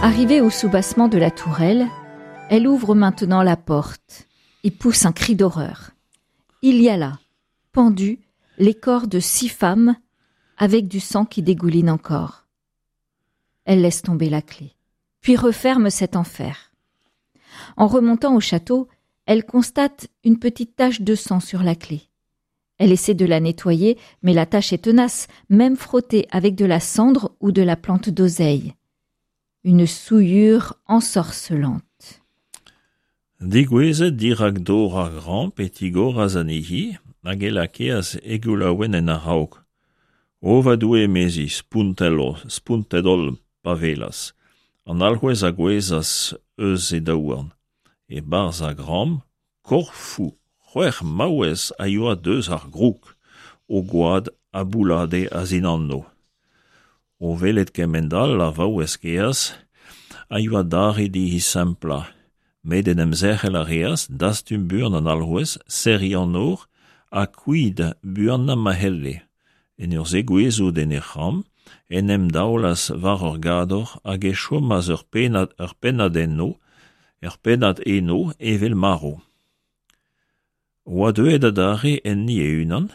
Arrivée au soubassement de la tourelle, elle ouvre maintenant la porte et pousse un cri d'horreur. Il y a là, pendu, les corps de six femmes avec du sang qui dégouline encore. Elle laisse tomber la clé, puis referme cet enfer. En remontant au château, elle constate une petite tache de sang sur la clé. Elle essaie de la nettoyer, mais la tache est tenace, même frottée avec de la cendre ou de la plante d'oseille. Une souillure ensorcelante. Digouezet dirak dor ar gramp e tigoras anezhi hag e lakeas he goulaouenn en a-raok. O va Doue, emezi, spontet-holl pa welas. An alc'hwez a gouezhas eus he daouarn. E-barzh ar gramp, korfoù c'hwec'h maouez a yoa deus ar groug, o gwad a boullade a-zindanno. O welet kement-all ar vaouez kaezh a yoa dare dezhi semplañ, met en em zerc'hel a reas, dastum buan an alc'hwez, serriñ an nor ha kuit buanañ ma c'helle. En ur zegouezhout en he c'hambr en em daolas war ur gador hag e chomas ur pennad ur pennad eno ur pennad eno evel marv. Oa deuet adarre enni e-unan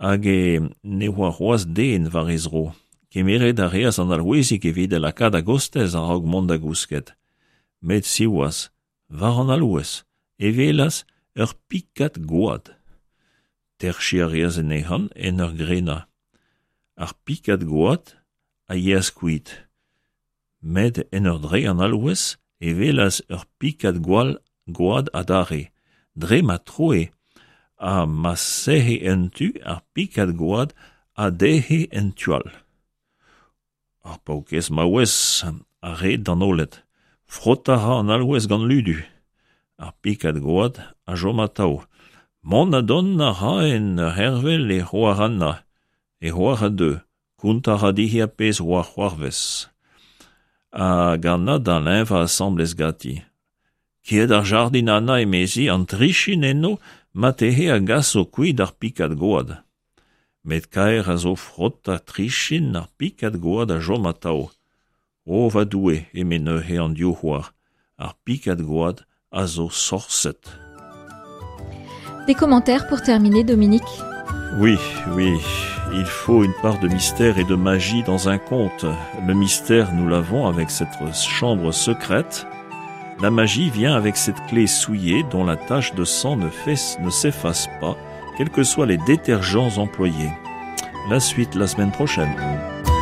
hag e ne oa c'hoazh den war he zro. Kemeret a reas an alc'hwezig evit e lakaat a-gostez a-raok mont da gousket. Met siwazh, war an alc'hwez e welas ur pikad gwad. Terchiñ a reas anezhañ en ur grenañ. Ar pikad gwad a yeas kuit. Met en ur dreiñ an alc'hwez e welas ur pikad gwall gwad adarre. Dre ma troe ha ma serre un tu, ar pikad gwad a dec'he en tu all. Ar paourkaezh maouez a red d'an oaled. Frotañ a ra an alc'hwez gant ludu. Ar pikad gwad a chom atav. Mont ha dont a ra en ur c'hervel e c'hoar Anna. E c'hoar a deu. Kontañ a ra dezhi ar pezh 'oa c'hoarvez. Hag Anna da leñvañ asambles ganti. Kae d'ar jardin Anna emezi, an trichin eno marteze a gaso kuit ar pikad gwad. Met kaer a zo frotañ trichin ar pikad gwad a chom atav. O va Doue, eme neuze an div c'hoar, ar pikad gwad a zo sorset. Des commentaires pour terminer, Dominique Oui, oui, il faut une part de mystère et de magie dans un conte. Le mystère, nous l'avons avec cette chambre secrète. La magie vient avec cette clé souillée dont la tache de sang ne, fait, ne s'efface pas, quels que soient les détergents employés. La suite la semaine prochaine.